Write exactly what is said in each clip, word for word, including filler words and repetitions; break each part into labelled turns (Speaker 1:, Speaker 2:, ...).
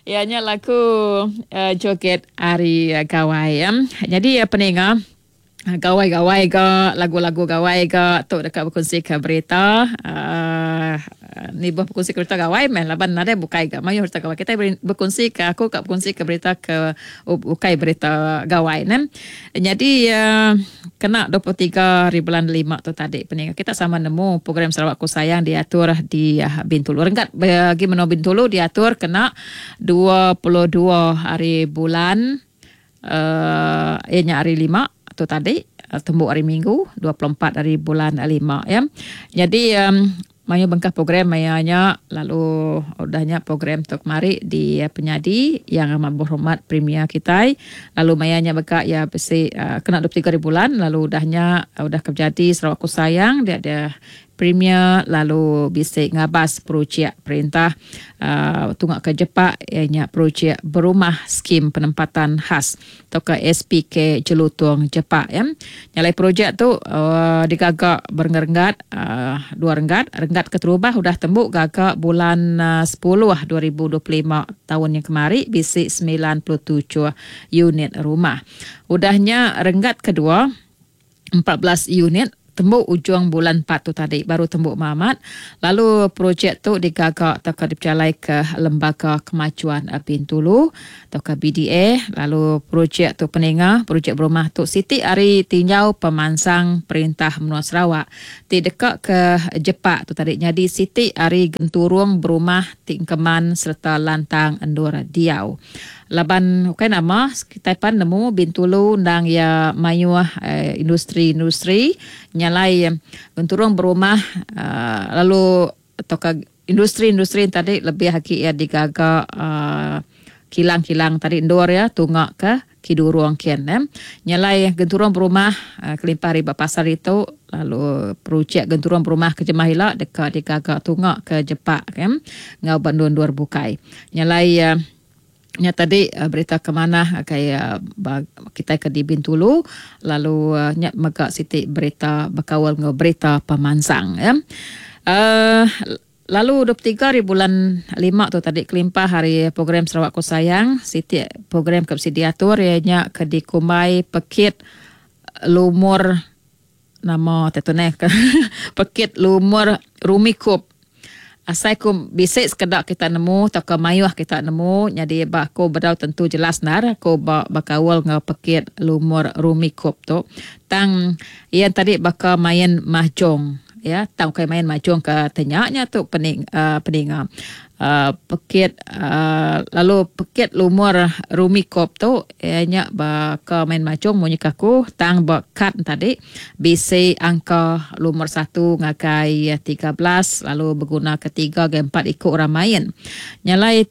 Speaker 1: Ya nya lagu uh, joget ari uh, gawai ya. Jadi uh, peninga gawai-gawai ga lagu-lagu gawai ga tu deka berkongsi ke berita uh, ni buah berkongsi ke berita gawai meh laban nadai bukai ga mayuh berita gawai kita berkongsi ke aku ka berkongsi ke berita ke bukai berita gawai ne. Jadi uh, kena dua puluh tiga hari bulan lima tu tadi peninga kita sama nemu program Sarawakku Sayang diatur di uh, Bintulu. Renggat bagi menua Bintulu diatur kena dua puluh dua hari bulan uh, ianya hari lima tu tadi tembuk hari Minggu dua puluh empat hari bulan lima ya. Jadi um, mayu bengkah program mayanya lalu udahnya program tu kemari di uh, penyadi yang amat berhormat Premier kita lalu mayanya beka ya besi uh, kena dua puluh tiga hari bulan lalu udahnya uh, udah kejadi Sarawakku Sayang dia ada Premier lalu bisik ngabas projek perintah uh, tunggak ke Jepak ianya projek berumah skim penempatan khas atau ke S P K Jelutong Jepak ya. Nyalai projek tu uh, digagak berenggat uh, dua renggat, renggat keterubah udah tembuk gagak bulan uh, sepuluh dua ribu dua puluh lima tahun yang kemari bisik sembilan puluh tujuh unit rumah. Udahnya renggat kedua empat belas unit tembuk ujung bulan empat tu tadi baru tembuk mamat. Lalu projek tu digagak atau ke diperjalai ke Lembaga Kemajuan Bintulu atau ke B D A. Lalu projek tu peninga projek berumah tu Siti Ari Tinjau Pemansang Perintah Menua Sarawak ti dekat ke Jepak tu tadi jadi Siti Ari Genturung berumah tingkeman serta lantang endur diau. Laban bukan nama kita pan nemu Bintulu ndang ya mayuh eh, industri-industri nyalai genturung berumah uh, lalu atau ke industri-industri tadi lebih haki ya digagak uh, kilang-kilang tadi endur ya tunggak ke kidurung kian eh. Nyalai genturung berumah uh, kelimpah riba pasar itu lalu projek genturung berumah ke Jemah ila dekat digagak tunggak ke Jepak kan ngau bandun-dur bukai. Nyalai uh, nya tadi uh, berita ke mana kaya uh, kita ke di Bintulu lalu uh, nya megak siti berita berkawal ngau berita pemansang ya. Uh, lalu dua puluh tiga hari bulan lima tu tadi kelimpah hari program Sarawakku Sayang siti program ke diatur ianya ke di Kumai Pekit Lumur nama tetuneh Pekit Lumur Rumikup. Asai ku bisik sekedak kita nemu atau ke mayuh kita nemu jadi ba aku bedau tentu jelas nar aku ba bakawal ngau pekit lumur Rumikup tu tang ia tadi baka main mahjong ya tang kai main mahjong ke tenyaknya tu pening uh, peninga uh, pekit uh, lalu pekit lumur Rumikup tu ianya baka main mahjong munyi aku tang ba kad tadi bisi angka lumur satu ngagai tiga belas lalu berguna ketiga ke empat ikut orang main. Nyalai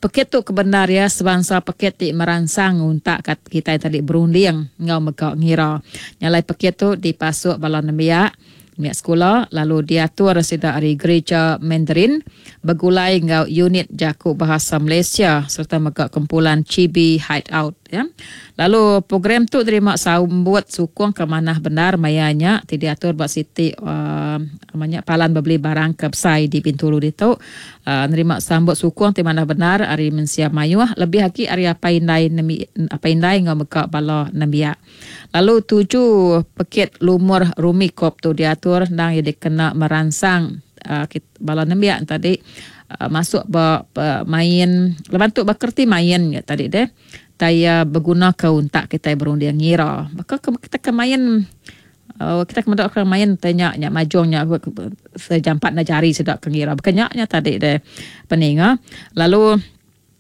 Speaker 1: pekit tu kebenar ya sebangsa pekit ti merangsang untak kat kita tadi berunding ngau megak ngira. Nyalai pekit tu dipasuk bala nembiak miak sekolah lalu diatur sida ari gereja Mandarin bergulai ngau unit Jaku Bahasa Malaysia serta megak kumpulan Chibi Hideout ya. Lalu program tu terima sambut sukung ke manah benar mayanya ti diatur bak siti uh, namanya palan beli barang ke besai di Bintulu ditu uh, nerima sambut sukung ti manah benar ari mensia mayuh lebih lagi ari apa indai nemi apa indai ngau megak bala nembiak. Lalu tuju pekit lumur Rumikup tu diatur ndang ia dikena merangsang uh, bala nembiak tadi uh, masuk ba, ba main lepas tu bakerti main ya tadi deh taya berguna ke untak kita berunding ngira maka kita ke main uh, kita kemendak ke main tanya nya majungnya sejampat na jari sedak ke ngira berkenyaknya tadi deh peninga. Lalu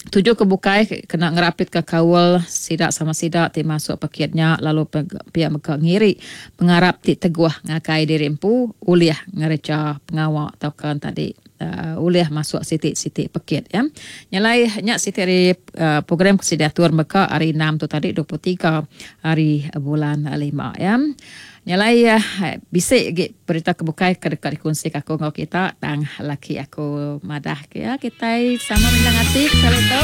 Speaker 1: tuju ke bukai kena ngerapit ke kawal sidak sama sidak ti masuk paketnya lalu pihak mega ngiri pengarap ti teguh ngakai diri empu ulih ngereja pengawak atau kan tadi uh, ulih masuk sitik-sitik paket ya. Nyalai nya siti hari uh, program kesidatur mega hari enam tu tadi dua puluh tiga hari bulan lima ya. Nyalai uh, bisik gi berita kebukai ke dekat dikongsi aku ngau kita tang laki aku madah ke ya kita sama mindang hati kalau tu.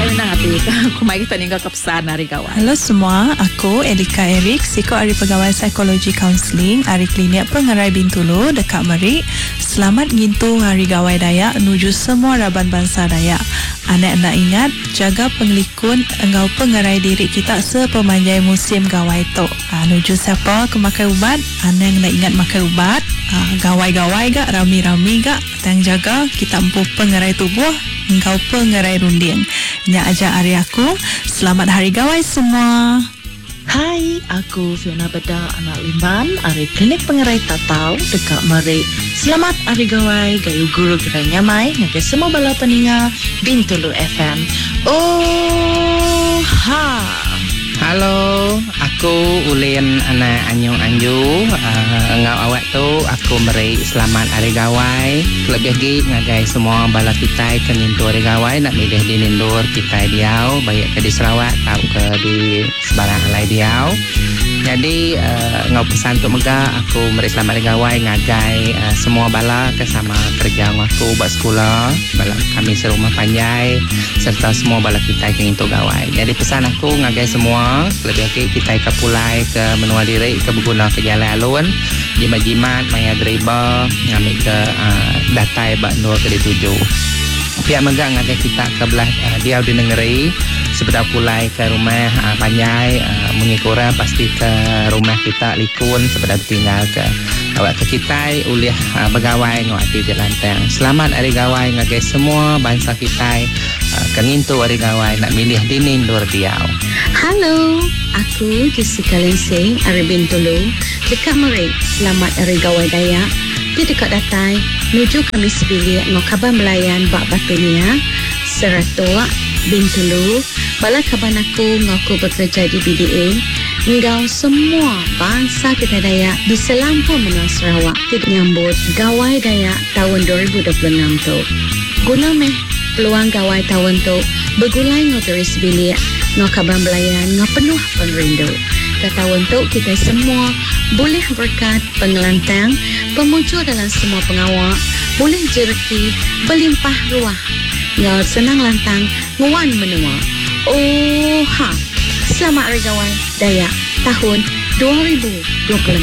Speaker 1: Terindang ati aku mai kita ninggal ke pesan hari gawai.
Speaker 2: Hello semua, aku Elika Eric, siku ari pegawai psikologi kaunseling ari Klinik Pengerai Bintulu deka meri Selamat Ngintu Hari Gawai Dayak nuju semua raban bansa Dayak. Anak enda ingat, jaga pengelikun enggau pengerai diri kita sepemanjai musim gawai tu. Ha, nuju siapa ke makai ubat, anang enda ingat makai ubat. Ha, gawai-gawai ga, rami-rami ga, tang jaga kita empu pengerai tubuh enggau pengerai runding. Nya aja ari aku. Selamat Hari Gawai semua.
Speaker 3: Hai, aku Fiona Beda anak Limban ari Klinik Pengerai Tatau deka meri Selamat Hari Gawai Gayu Guru Gerai Nyamai ngagai semua bala peninga Bintulu F M. Oh ha.
Speaker 4: Halo, aku Ulin anak Anyung Anju. Uh, engau awak tu aku meri selamat hari gawai. Lebih lagi ngagai semua bala kita ke ngintu hari gawai nak milih di Nindur kita diau baik ke di Sarawak atau ke di sebarang alai diau. Jadi uh, ngau pesan tu mega aku meri selamat hari gawai ngagai uh, semua bala ke sama kerja ngau aku buat sekolah, bala kami serumah panjai serta semua bala kita ke ngintu gawai. Jadi pesan aku ngagai semua lebih lagi kita ke pulai ke menua diri ke berguna ke jalan alun jimat-jimat maya deriba ngambil ke uh, datai bak nur ke dituju. Pihak mega ngagai kita ke belah uh, diau di negeri sepeda pulai ke rumah uh, panjai uh, mengikura pasti ke rumah kita likun sepeda tinggal ke awak ke kita ulih uh, begawai ngau ati di lantang. Selamat hari gawai ngagai semua bangsa kita uh, ke ngintu hari gawai nak milih dini ndur diau.
Speaker 5: Halo, aku Jessica Lensing ari Bintulu dekat Merik. Selamat Hari Gawai Dayak. Di dekat datai nuju kami sebilik ngau kaban melayan bak Batunia, Seratok, Bintulu, bala kaban aku ngaku bekerja di B D A, ngau semua bangsa kita Dayak di selampur menua Sarawak ti nyambut Gawai Dayak tahun dua ribu dua puluh enam tu. Guna meh peluang gawai tahun tu bergulai ngau turis bilik, ngau kaban belayan, ngau penuh pengerindu. Ke tahun tu kita semua boleh berkat pengelantang, pemuju dalam semua pengawak, boleh jereki, berlimpah ruah, ngau senang lantang, nguan menua. Oh ha. Selamat Hari Gawai Dayak tahun dua ribu dua puluh enam.